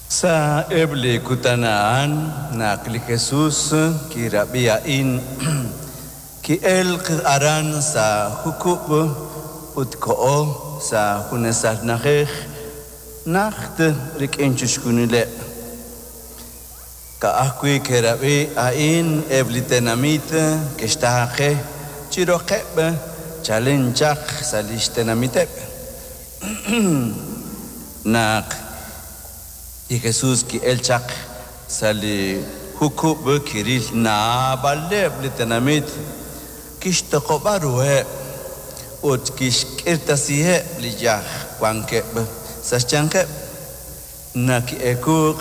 Sa'eb' li kutan a'an naq li Jesus kirab'i a'in, ki'elk aran sa' jukub' ut koho sa' junesal na'ajej najt rik'in chixjunileb'. Ka'ajwi' ke'rab'i a'in eb' li tenamit ke'xtaaqe chi roqeb' chalen chaq sa' li xtenamiteb'. Naq li Jesus ki'elk chaq sa' li jukub' kiril naab'aleb' li tenamit, kixtoq'ob'a ruheb' ut kixk'irtasiheb' li yaj wankeb' sa' xyanqeb'. Naq ki'eekuuk,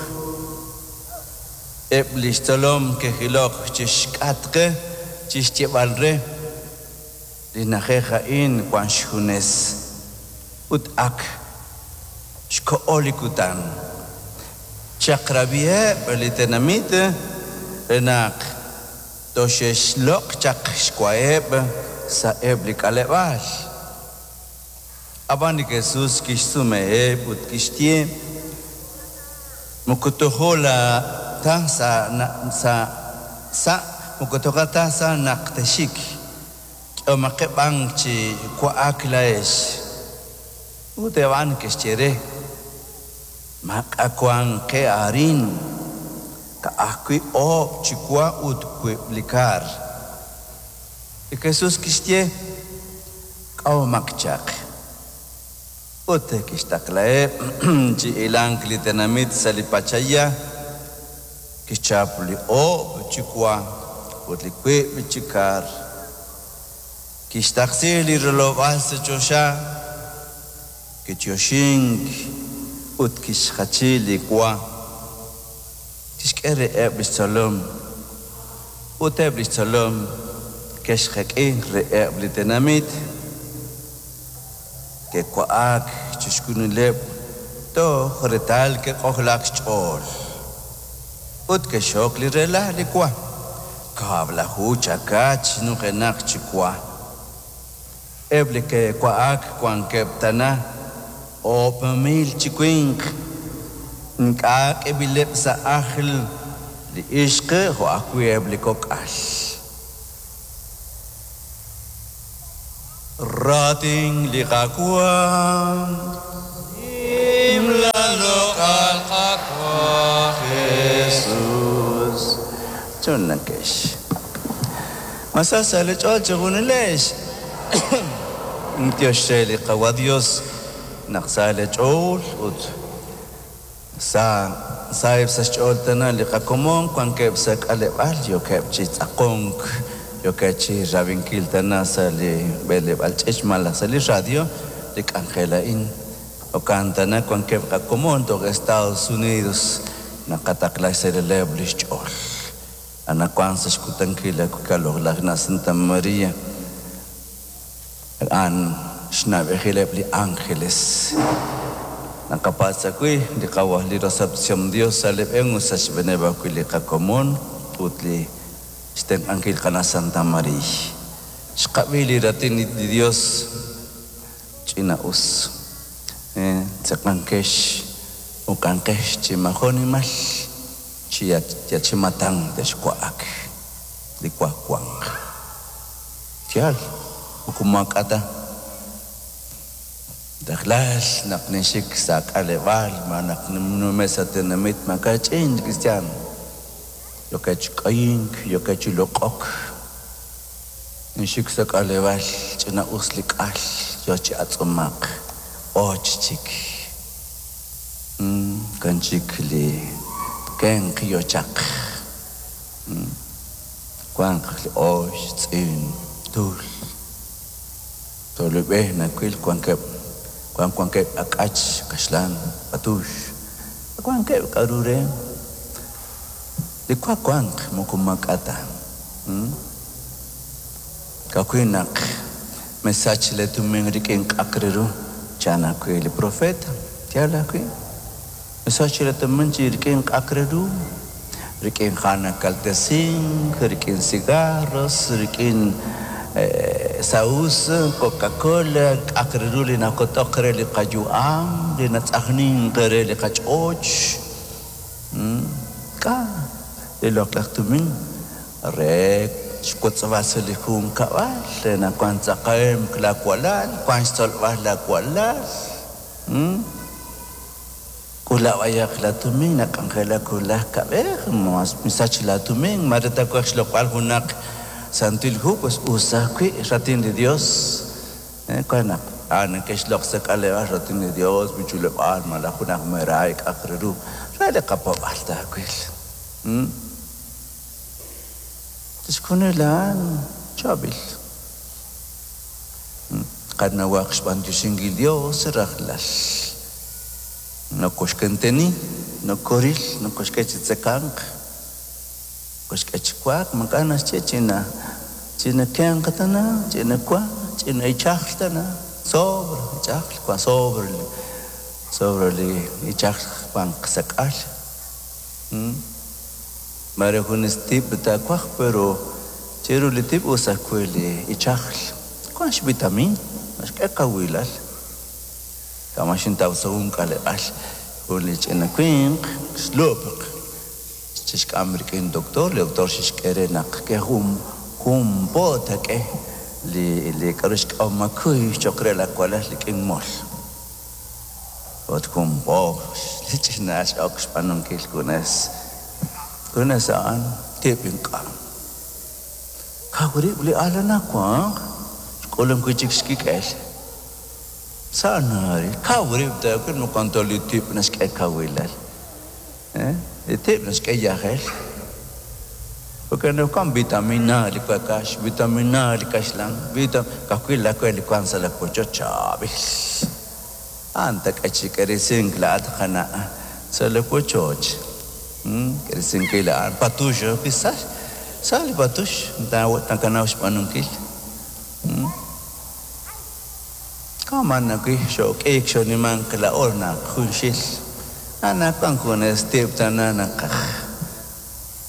eb' li xtzolom ke'jilok chi xk'atq chi xyeeb'al re, Li na'ajej a'in wank xjunes ut ak xkoho li kutan. Chaq'rab'iheb' li tenamit re naq toxe'xloq' chaq xwaheb' sa'eb' li k'aleb'aal. Ab'an li Jesus kixsumeheb' ut kixye, Moko tojo ta sa' sa' moko toja ta sa' naq texxik, k'ehomaqeb' b'an chi wa'ak laa'ex. Ut eb' a'an ke'xye re, Maak'a' wank qe arin, ka'ajwi' oob' chi wa ut wiib' li kar. Li Jesus kixye, K'ahomaq chaq. Ut kixtaqlaheb' chi hilank li tenamit sa' li pachaya, kixchap li oob' chi wa ut li wiib' chi kar, kixtaqsi li rilob'aal sa' choxa, kichoxink ut kixjachi li wa, kixk'e reheb' li xtzolom, ut eb' li xtzolom ke'xjek'i reheb' li tenamit. Ke'wa'ak chixjunileb' toj reetal ke'k'ojlaak xch'ool. Ut ke'xxok li rela' li wa, kab'laju chakach nujenaq chi wa. Eb' li ke'wa'ak wankeb' tana 1000 chi winq, ink'a' k'eb'ileb' sa' ajl li ixq jo' ajwi' eb' li kok'al. Raatin li Qaawa'. Nimla loq'al Qaawa' Jesus. Chunlankex. Ma sa sa' li ch'ool chejunilex? B'antiox re li Qawa' Dios naq sa li ch'ool ut sa saheb' sa' xch'ool tana li qakomon wankeb' sa' k'aleb'aal yookeb' chi tz'aqonk, yookeb' chi rab'inkil tana sa' li b'eleb'aal ch'iich' malaj sa' li radio li k'anjel a'in. Jo'kan tana wankeb' qakomon toj Estados Unidos naqataqla xse'leleb' li xch'ool. Anaqwan sa' xkutankil li na Santa Maria a'an xna'b'ejileb' li ángeles. Naqapatz' ajwi' li Qaawa' li rosob'tesihom Dios sa' li b'een ut sa' xb'eeneb' ajwi' li qakomon ut li xtenq'ankil qana' Santa Mariiy. Xqab'i li raatin li Dios ch'ina-us. Tzeqankex uq'anqex chi majunimal chi yachimatan texwa'ak li wa wanq. Yaal, moko maak'a' ta. Rajlal naq ninxik sa' k'aleb'aal ma naq ninnume' sa' tenamit maaka'ch'in li kristiaan yookeb' chi k'ayink, yookeb' chi loq'ok. Ninxik sa' k'aleb'aal ch'ina-us li k'al yoo chi atz'umaq, och chik. Kan chik li kenq yoo chaq. Wanq li ox, tz'in, tul. Tolub'e nawil wankeb' wan wankeb' ak'ach, kaxlan, patux. Wankeb' k'a'ru re li wa wanq moko maak'a' ta. Ka'ajwi' naq mesach lee tumin rik'in k'a'aq re ru, chan ajwi' li profeta. Yaal ajwi'. Mesach lee tumin chi rik'in k'a'aq re ru, rik'in ha' nakaltesink, rik'in cigarros, rik'in saus, Coca-Cola, k'a'aq re ru li nakotok re li qayu'am, li natz'ajnink re li qach'och. K'a' li loq'laj tumin re xwotzb'al sa' li junkab'al re naq wank tzakahemq laawalal, wank xtzolb'al laawalal. K'ula b'ayaq laatumin nak'anjelak wulaj kab'ej, misach laatumin, mare taawaj xloq'b'al junaq Santil Hu, pues us ajwi' Raatin li Dios. Wan naq a'an neke'xloq' sa' k'aleb'aal Raatin li Dios, b'ichuleb'aal malaj junaq meraay k'a'aq re ru re li qapaab'aal taawil. Chixjunil a'an chaab'il. Qanawaq xb'antioxinkil Dios rajlal. Nokoxkenteni, nokoril, nokoxk'e chi tzekanq, nokoxk'e chi wa'ak, maak'a' naxye ch'ina ch'ina kenq tana, ch'ina wa, ch'ina ichajl tana, sobre ichajl, wa sobre sobre li ichajl wanq sa' k'al. Maare junes tib' taawaj, pero chiru li tib' us ajwi' li ichajl. Wank xvitamin, naxk'e kawilal. Kama' xintaw sa' jun k'aleb'aal jun li ch'ina winq xlub'q xixk'am rik'in doctor, li doctor xixk'e re naq ke jun jun po taak'e li li k'a'ru xk'awmakuy cho'q re laawalal rik'in mol. Ut jun po li ch'ina al x'ok xb'aanunkil junes junes a'an tib' ink'a'. Kaw rib' li al anaqwan xk'ulum wi' chik xkik'el. Sa' naril, kaw rib' taawil moqon tol li tib' naxk'e kawilal. Li tib' naxk'e yajel. Porque anaqwan vitamina li wakax, vitamina li kaxlan, vita ka'ajwi' laawe li wank sa' laawochoch chaab'il. A'an taak'e chi k'eresink laa'at qana' sa' laawochoch. K'eresinkil a'an patux ajwi' sa' sa' li patux nakanaw xb'aanunkil. Kama'an ajwi' xook'iik xoonimank laa'o naq junxil anaqwan junes tib' tana naqaj,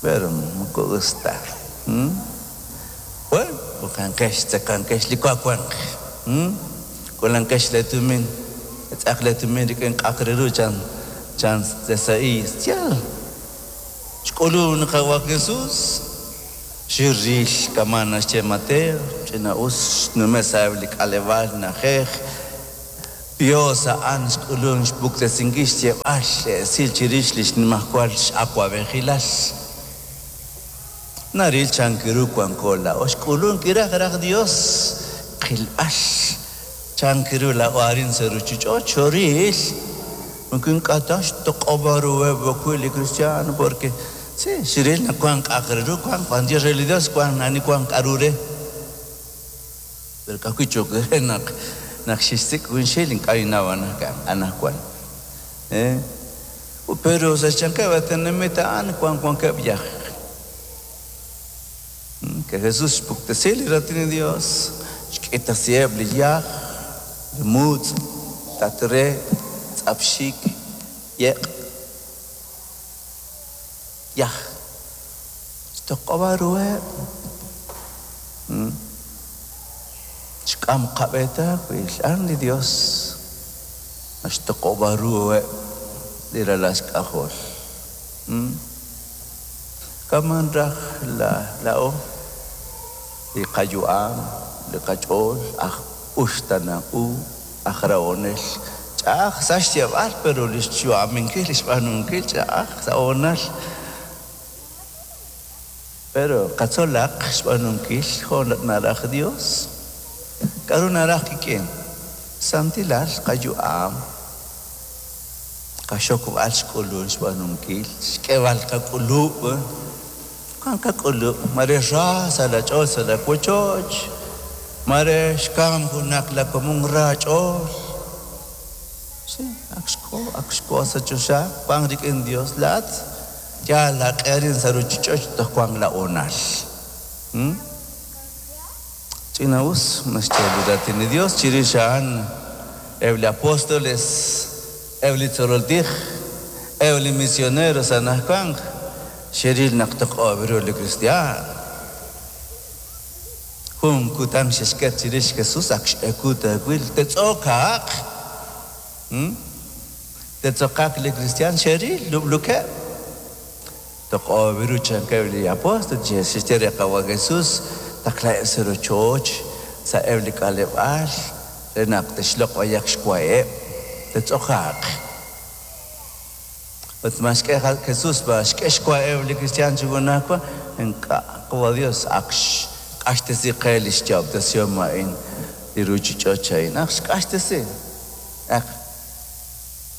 pero moko us ta. Bueno, b'oqanqex, tzekanqex li wa wanq. K'ulanqex leetumin, tz'aq leetumin rik'in k'a'aq re ru chan chan Esaías. Yaal, xk'ulunk li Qaawa' Jesús. Xiril kama' naxye Mateo, ch'ina'us xnume' sa'eb' li k'aleb'aal na'ajej, Dios a'an xk'ulunk xpuktesinkil xyeeb'al li esil chirix li xnimajwal x'awab'ejilal. Naril chank ru wanko laa'o xk'ulunk kiraj raj Dios qilb'al chank ru laa'o arin sa' ruuchich'och' xoril moko ink'a' ta xtoq'ob'a ruheb' ajwi' li kristiaan porque Sí, xril naq wank k'a'aq re ru, wank b'antiox re li Dios, wank ani wank k'a'ru re. Pero ka'ajwi' cho'q re naq naq xixsik' junxil ink'a' ninnaw anajwan. Pero sa' xyanqeb' a tenamit a'an wank wankeb' yaj. Que Jesús xpuktesi li Raatin li Dios, xk'itasiheb' li yaj, li mutz', tat re, tz'ap xik, yeq'. Yaj. Xtoq'ob'a ruheb'. Xk'am qab'e taawil. A'an li Dios naxtoq'ob'a ruheb' li ralal xk'ajol. Kaman raj laa'o li qayu'am, li qach'ool aj uxtaanank u. Aj rahonel. Ch'a'aj sa' xyeeb'al pero li xyu'aminkil, li xb'aanunkil ch'a'aj sa' hoonal. Pero qatzolaq xb'aanunkil jo' naraj Dios. K'a'ru naraj qik'in? Santilal qayu'am, qaxokb'al xk'ulun xb'aanunkil, xk'eeb'al qak'ulub'. Wank qak'ulub', mare ra sa' laach'ool sa' laawochoch, mare xkamk junaq laakomon ra aach'ool. Sí, ak xko, ak xko sa' choxa, wank rik'in Dios. Laa'at yaal laaq'e arin sa' ruuchich'och' toj wank laahonal. Ch'ina'us naxye li Raatin li Dios chirix a'an eb' li apóstoles, eb' li tzolol tij, eb' li misioneros anajwank. Xeril naq toq'ob' ru li kristiaan. Jun kutan xexket chirix Jesús ak x'ewu taawil, tetz'okaaq. Tetz'okaaq li kristiaan xeril lub'lukeb'. Toq'ob' ru chankeb' li apóstol, xe'xye re Qawa' Jesús, taqlaheb' sa' rochoch, sa'eb' li k'aleb'aal, re naq te'xloq' b'ayaq xwaheb', te'tz'okaaq. Ut ma xk'e Jesús ma xk'e xwaheb' li kristiaan chi junajwa? Ink'a'. Qawa' Dios ak xq'axtesi qe li xyo'ob'tesihom a'in, li ruuchich'och a'in. Ak xq'axtesi. Ak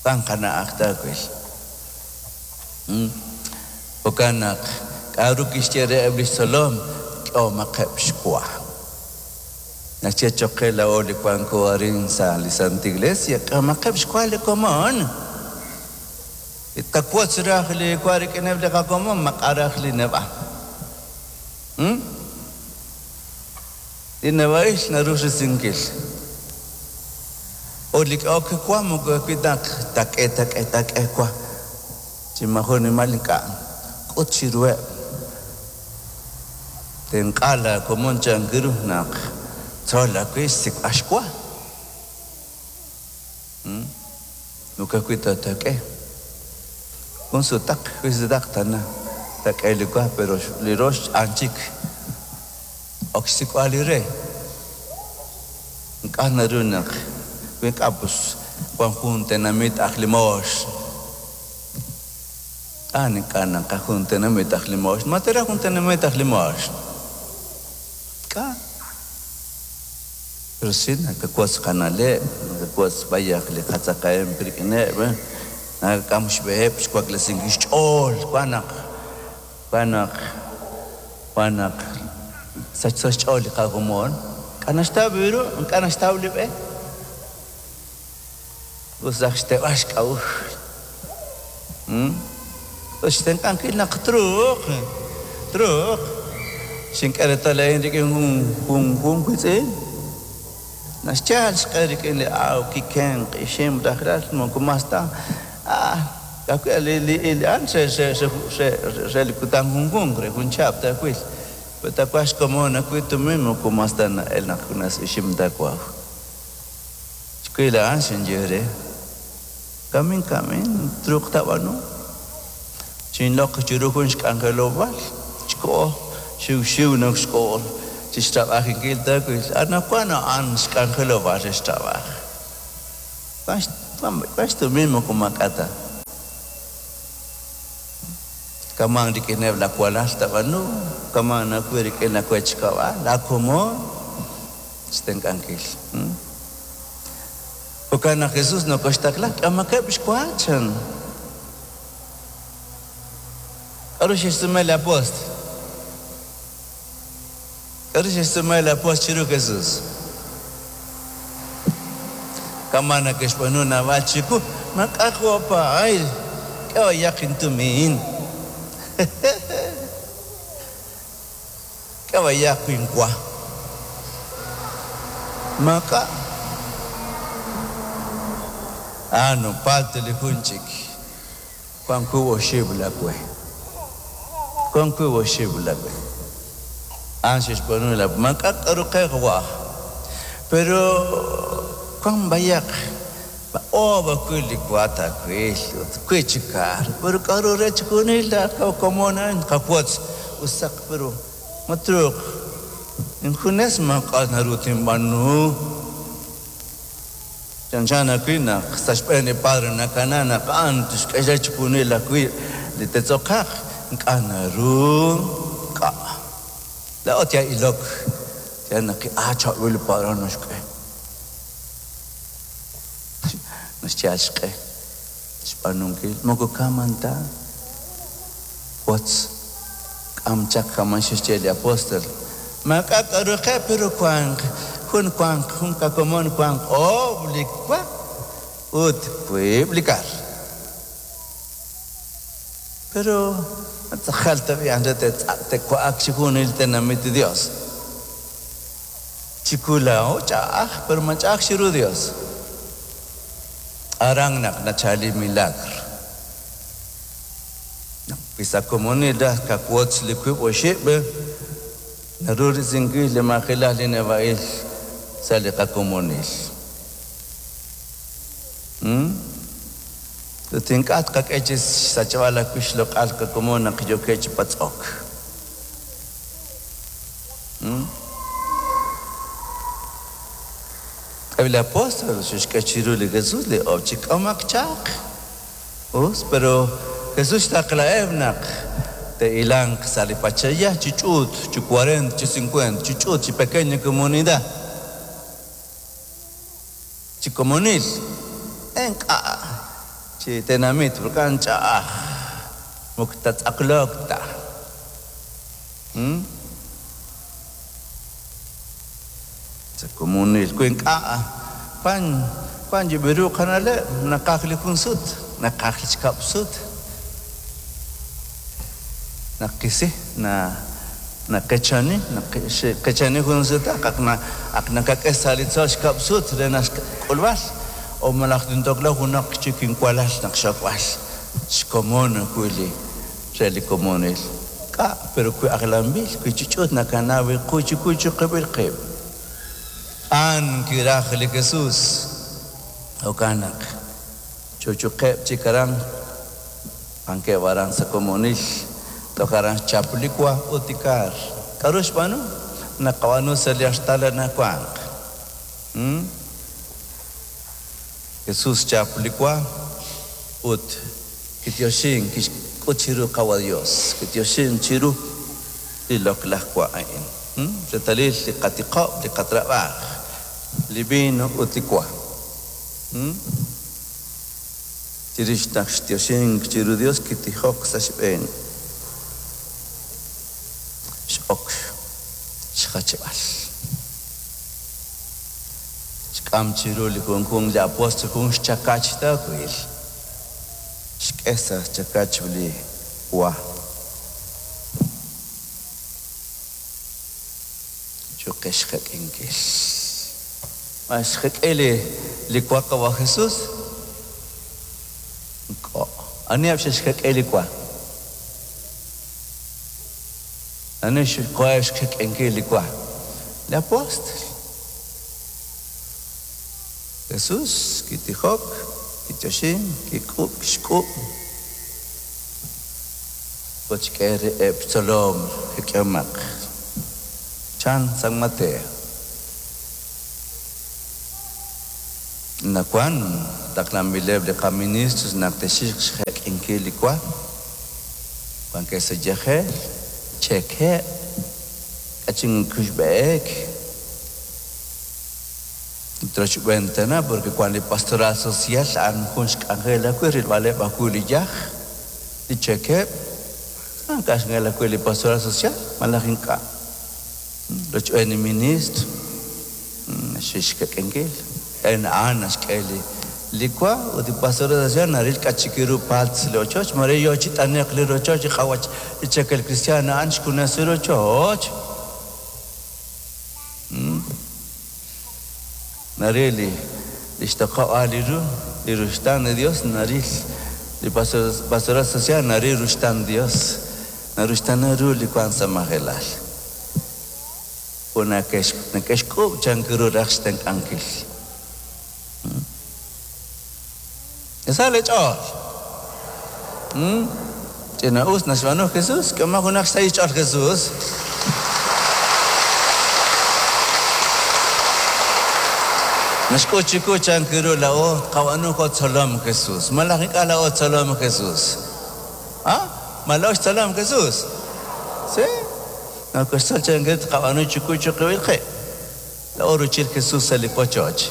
wank qana'aj taawil. Jo'kan naq, k'a'ru kixye reheb' lix tzolom? K'ehomaqeb' xwa. Naxye choq' qe laa'o li wanko arin sa' li Santa Iglesia, k'ehomaqeb' xwa li komon. Li tqawotz raj li wa rik'ineb' li qakomon, maq'a raj li neb'a'. Li neb'a'il naru risinkil. Ut li k'ehok wa moko wi naq taak'e, taak'e, taak'e wa chi maajun nimal ink'a'. K'ut chiruheb'. Tenq'a laa komon chank ru naq tzol ajwi' xsik'b'al xwa. Moko ajwi' ta taak'e. Jun sutaq, jun sutaq tana taak'e li wa, pero li rox a'an chik. Ok xsik'b'al li re. Ink'a' naru naq wi ink'a' pus wan jun tenamit aj limoox. A'an ink'a' naqaj jun tenamit aj limoox. Ma teeraj jun tenamit aj limoox? Ink'a'. Pero si nakawotz qana'leb', nakawotz b'ayaq li qatzakahemq rik'ineb', nakak'am xb'eheb' xwaklesinkil xch'ool, wan naq Wan naq, wan naq sachso xch'ool li qakomon, k'a' naxtaw ru, ink'a' naxtaw li b'e. Us raj xteeb'al xk'a'uxl. Ut xtenq'ankil naq truuq, truuq. Xink'e reetal a'in rik'in jun, jun, jun wiitz'in. Naxyal xq'e rik'in li awk, kikenq, ixim, rajlal, moko mas ta. Ah, ka'ajwi' li, li, li a'an re, re, re, re, re li kutan junjunq, re jun chihab' taawil. Wi taawaj xkomon ajwi' tumin, moko mas ta na'el naq junes ixim taawaw. Xwil a'an xinye re, Kamin, kamin, truuq taab'aanu. Xinloq chiru jun xk'anjelob'aal, xkoho, xiwxiw naq xkoho chi xtrab'ajinkil taawil. Anaqwan a'an xk'anjelob'aal re xtrab'aaj. Wan xtumin moko maak'a' ta. Kaman rik'ineb' laa walal taab'aanu, kaman ajwi' rik'in laa wech kab'al, laa komon xtenq'ankil. Jo'kan naq Jesús nokoxtaqla, k'amaqeb' xwa, chan. K'aru xe'xsume li apóstol? K'aru xe'xsume li apóstol chiru Jesús? Kama' neke'xb'aanu naab'al chiwu, Maak'a' jo'paay, k'e b'ayaq intumin. K'e b'ayaq inwa. Maak'a'. Ano, palto li jun chik. Wank wiib' oxib' laawe. Wank wiib' oxib' laawe. A'an xe'xb'aanu laa maak'a' k'aru qe qawa'. Pero wank b'ayaq oob' ajwi' li wa taawil ut wiib' chi kar. Pero k'aru re chixjunil laa komon a'in qawotz usaq pero ma truuq injunes maak'a' naru tinb'aanu. Chanchan ajwi' naq sa' xb'een li Padre nakana naq a'an tixk'e re chixjunil ajwi' li te'tz'okaaq, ink'a' naru k'a'. Laa'o yal ilok, yal naq chaab'il li Padre naxk'e. Naxyal xq'e xb'aanunkil, moko kaman ta. Wotz, k'am chaq kaman xe'xye li apóstol. Maak'a' k'aru qe, pero wank jun wank jun qakomon wank oob' li wa ut wiib' li kar. Pero ma tz'aqal tab'i' a'an re te'wa'ak chixjunil tenamit li Dios. Chiwu laa'o ch'a'aj, pero ma ch'a'aj chiru Dios. Aran naq nachal li milagro. Naq wi sa' komonil raj kawotz li wiib' oxib', naru risinkil li majelal li neb'a'il sa' li qakomonil. Ut ink'a' tqak'e chi xsachb'al ajwi' xloq'al qakomon naq yookeb' chi patz'ok. Eb' li apóstol xe'xk'e chiru li Jesús li oob' chi k'amomaq chaq. Us, pero Jesús xtaqlaheb' naq te'hilanq sa' li pach'aya chi ch'uut, chi cuarenta, chi cincuenta, chi ch'uut, chi pequeña comunidad, chi komonil, ink'a' chi tenamit, porque a'an ch'a'aj, moko tatz'aqloq ta. Sa' komonil, wi ink'a' wan wan yib'ru qana'leb', naqaj li jun sut, naqaj li xkab' sut, naqisi, na naqechani, naqechani jun sutaq, ak na ak nakak'e sa' li tzol xkab' sut re naq xk'ulb'al, o malaj tintokla junaq chik inwalal naq xokb'al xkomon ajwi' li re li komonil. K'a' pero wi ajlanb'il, wi chi ch'uut nakana wi qu chi ku chiqib'il qib'. A'an kiraj li Jesús. Jo'kan naq chuchuqeb' chik aran, wankeb' aran sa' komonil, toj aran xchap li wa ut li kar. K'aru xb'aanu? Naqab'aanu sa' li artal anaqwanq. Jesús xchap li wa ut kityoxink, kixk'ut chiru Qawa' Dios, kityoxink chiru li loq'laj wa a'in. Reetalil li qatiqob', li qatrab'aaj, li vino ut li wa. Chirix naq xtyoxink chiru Dios kitijok sa' xb'een. X'ok xjachb'al. Xk'am chiru li junjunq li apóstol jun xchakach taawil. Xk'e sa' xchakach li wa. Cho'q xjek'inkil. Ma xjek'i li li wa qawa' Jesús? Ink'a'. Aniheb' xe'xjek'i li wa? Ani xkoheb' xjek'inkil li wa? Li apóstol. Jesús kitijok, kityoxink, kik'ub', kixk'ub' ut xk'e reheb' xtzolom jek'ihomaq, chan San Mateo. Anaqwan taqlanb'ileb' li qaministros naq te'xik xjek'inkil li wa, wankeb' sa' yajel, cheekeb', k'achin kuxb'e'ek. Ut rochb'een tana, porque wank li pastoral social a'an jun xk'anjel ajwi' rilb'aleb' ajwi' li yaj, li cheekeb', a'an k'anjel ajwi' li pastoral social malaj ink'a'. Rochb'een li ministro xe'xk'ek'enkil, en a'an naxk'e li li wa ut li pastoral social naril k'a' chik ru palts li ochoch, mare yo chi t'ane'q li rochoch li qawach li cheekel cristiano a'an xjunes li rochoch. Naril li li xtoq'ob'aal li ru, li ruxtaan li Dios naril li pastoral social naril ruxtaan Dios, naruxtaana ru li wank sa' majelal. Ut neke'xk'uub' chank ru raj xtenq'ankil. Sa leech'ool. Ch'ina'us naxb'aanu Jesús, k'ehomaq junaq xsahil xch'ool Jesús. Naxk'ut chiqu chank ru laa'o tqab'aanu jo' tzolom Jesús. Malaj ink'a' laa'o tzolom Jesús. A? Ma laa'o xtzolom Jesús? Sí? Nokoxtzol chank ru tqab'aanu chiqu chiqib'il qib'. Laa'o ruuchil Jesús sa' li qochoch.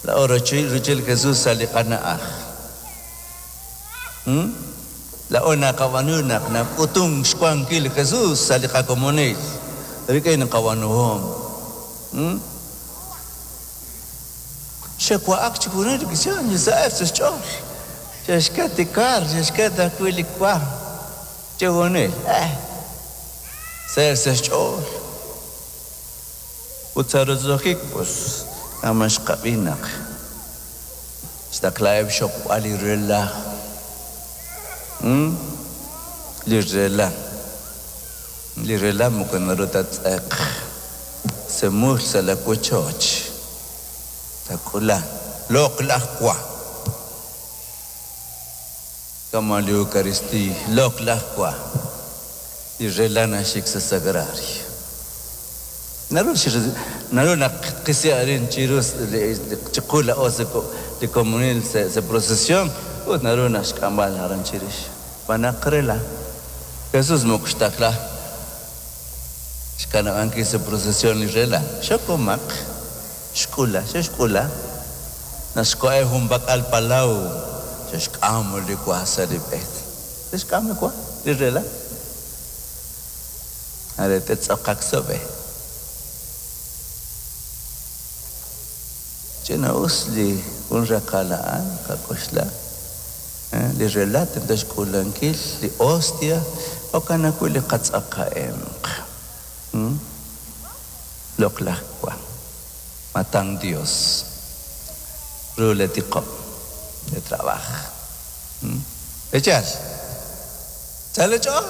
Laa'o ruuchil Jesús sa' li qana'aj. Laa'o naqab'aanu naq nak'utunk xwankil li Jesús sa' li qakomonil rik'in qab'aanuhom. Xe'wa'ak chixjunil li kristiaan chi saheb' sa' xch'ool. Xe'xket li kar, xe'xket ajwi' li wa. Chixjunil, eh, saheb' sa' xch'ool. Ut sa' roso'jik, pus, kama xqab'i naq xtaqlaheb' xxokb'al li rela'. Li rela'. Li rela' moko naru ta ttz'eq semul sa' la wochoch. Taak'ula loq'laj wa. Kama' li Eucaristiiy, loq'laj wa, li rela' naxik sa' sagrario. Naru naru naq tqisi arin chiru chiqu laa'o sa' li komonil sa' procesión ut naru naq xk'amb'al aran chirix. Xb'aan naq rela'. Jesús moko xtaqla xkanab'ankil sa' procesión li rela'. Xokomaq, xk'ula, xe'xk'ula. Naq xkoheb' junpak'al palaw, xe'xk'am li wa sa' li b'e. Xe'xk'am li wa, li rela'. Are te'tz'aqaq sa' b'e. Ch'ina'us li jun raqal a'an, qak'oxla. Li rela' tento xk'uulankil li hostia, jo'kan ajwi' li qatz'aqa'emq. Loq'laj wa. Matang Dios. Ru le tiqob', le trabaaj. Echal. Sa li ch'ool.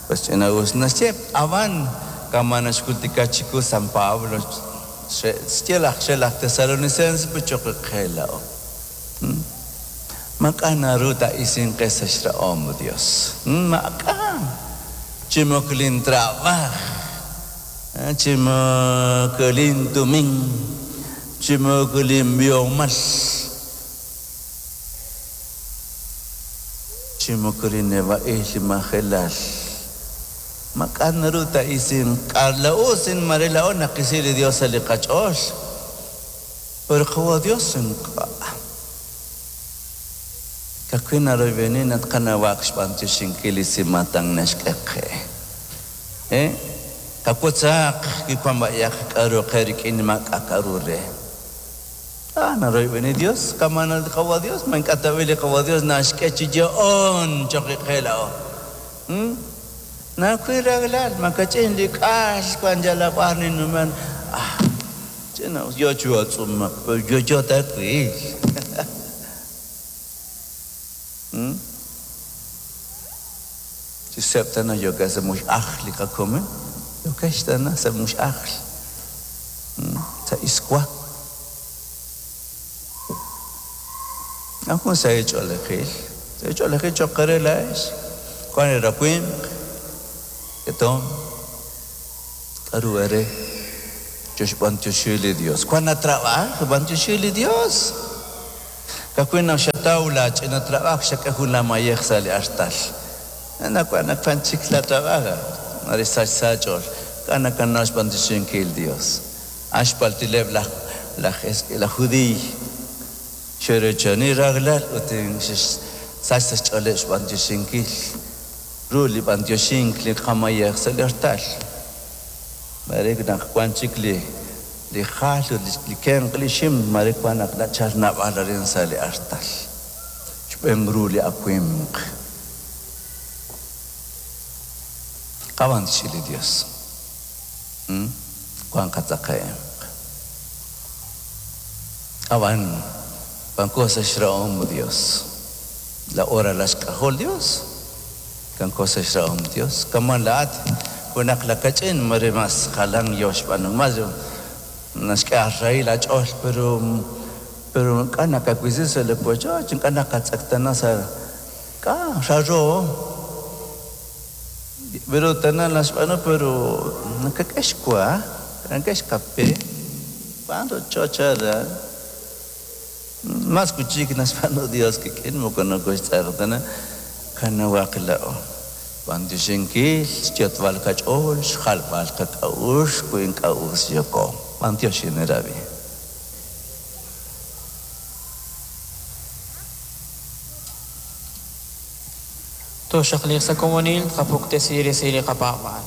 Pues ch'ina'us naxye, ab'an kama' naxjultika chiwu San Pablo, xye laj xe laj Tesalonicense pues cho'q qe laa'o. Maak'a' naru taa'isinq qe sa' xrahom Dios. Maak'a'! Chi moko lintrab'aaj, chi moko lintumin, chi moko linb'ihomal, chi moko li neb'a'il li majelal. Maak'a' naru taa'isinq. K'a' laa'o sin mare laa'o naqisi li Dios sa' li qach'ool. Pero qawa' Dios ink'a'. Ka'ajwi' naroyb'eni naq tqanawaq xb'antioxinkil li simaatan naxk'e qe. E Qawotzaq wi wank b'ayaq k'aru qe rik'in maak'a' k'aru re. A Naroyb'eni Dios, kama' li qawa' Dios, ma ink'a' tab'i' li qawa' Dios naxk'e chi yo'oon cho'q qe laa'o. Nawil rajlal, makach'in li k'ax wank yalaq b'ar ninnumen. Ah, ch'ina'us yo chi atz'umak, pero yo'yo ta twil. Chi seeb' tana yookex sa' mux'ajl li qakomon, yookex tana sa' mux'ajl, sa' iswa. Jun sahil ch'oolejil, sahil ch'oolejil cho'q eere laa'ex. Wank li rawimq, ketomq, k'aru eere choxb'anyoxi li Yos. Wank atrabaaj, b'anyoxi li Yos. Ka'ajwi' naq xataw laach'ina trabaaj xak'e jun laamayej sa' li artal. Anaqwan naq wank chik laatrabaaj, mare sach sa' aach'ool. K'a' nakanaw xb'anyoxinkil li Yos? A'an xpaltileb' laj laj laj Judiiy. Xe'reechani rajlal ut xe'xsach sa' xch'ooleb' xb'antioxinkil ru li b'antioxink li qamayej sa' li artal. Maare naq wank chik li li jal ut li kenq' li xim, maare wank naq nachalk naab'al arin sa' li artal. Xb'een ru li awimq. Qab'antioxi li Yos. Wank qatzakahemq. Ab'an wanko sa' xrahom Dios. Laa'o ralal xk'ajol Dios. Wanko sa' xrahom Dios. Kama' laa'at junaq lakach'in mare mas jalan yo xb'aanunkil. Mas naxk'e aarahil aach'ool pero pero ink'a' nakawisi sa' li wochoch, ink'a' nakatz'eqtaana sa' k'a' raaro. Pero tana naxb'aanu pero nakak'e xwa, nakak'e xkape, wank rochoch aran. Mas wi' chik naxb'aanu Dios qik'in moko nokoxtz'eqtaana, qanawaq laa'o. B'antioxinkil, xyot'b'al qach'ool, xjalb'al qak'a'uxl wi ink'a' us yooko. B'antioxin eerab'i. Tooxaqliiq sa' komonil tqapuktesi resil li qapaab'aal.